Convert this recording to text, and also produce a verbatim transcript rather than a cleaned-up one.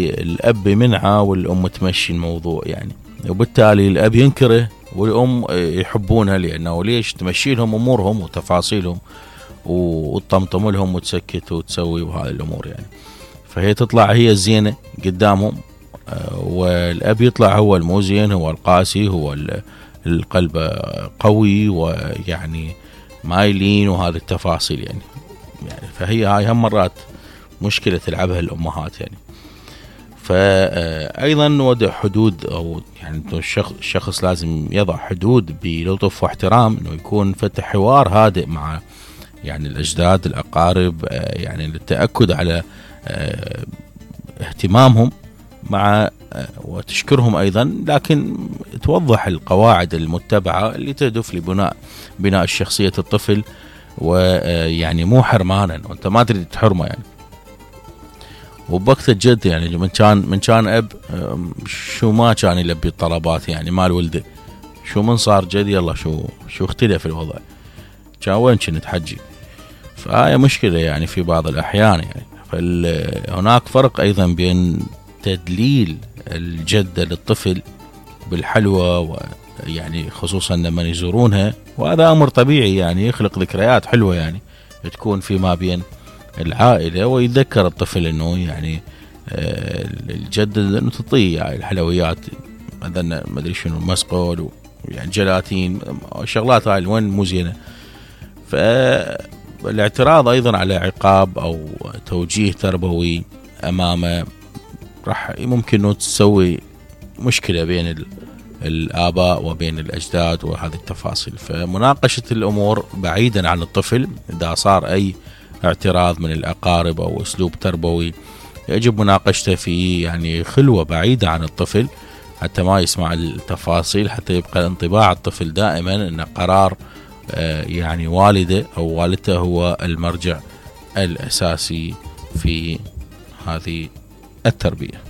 الأب بمنعه والأم تمشي الموضوع يعني، وبالتالي الأب ينكره والأم يحبونها، لأنه ليش تمشي لهم أمورهم وتفاصيلهم وتطمطم لهم وتسكت وتسوي وهذه الأمور يعني. فهي تطلع هي الزينة قدامهم، والأب يطلع هو المو زين، هو القاسي، هو القلب قوي ويعني ما يلين وهذه التفاصيل يعني. يعني فهي هاي هم مرات مشكلة تلعبها الأمهات يعني. فأيضا وضع حدود، أو يعني الشخص لازم يضع حدود بلطف واحترام، إنه يكون فتح حوار هادئ مع يعني الأجداد الأقارب، يعني للتأكد على اهتمامهم مع وتشكرهم أيضا، لكن توضح القواعد المتبعة اللي تهدف لبناء بناء الشخصية الطفل، ويعني مو حرمانا وانت ما تريد تحرمه يعني. وبوقت الجد يعني من كان من كان أب شو ما كان يلبي الطلبات يعني مال ولده، شو من صار جد يلا شو شو اختلف الوضع، كان وين كنت حجي. فهاي مشكلة يعني في بعض الأحيان يعني. فهناك فرق أيضا بين تدليل الجدة للطفل بالحلوى، ويعني خصوصا لما يزورونها، وهذا أمر طبيعي يعني يخلق ذكريات حلوة يعني تكون فيما بين العائلة، ويتذكر الطفل انه يعني الجدة انه تعطيه يعني الحلويات، مثلا ما ادري شنو مسقول ويعني جلاتين، الشغلات هاي وين مو زينة. فالاعتراض ايضا على عقاب او توجيه تربوي امامه راح ممكن انه تسوي مشكلة بين الآباء وبين الأجداد وهذه التفاصيل. فمناقشة الأمور بعيدا عن الطفل، إذا صار أي اعتراض من الأقارب أو أسلوب تربوي، يجب مناقشته في يعني خلوة بعيدة عن الطفل حتى ما يسمع التفاصيل، حتى يبقى انطباع الطفل دائما أن قرار يعني والده أو والدته هو المرجع الأساسي في هذه التربية.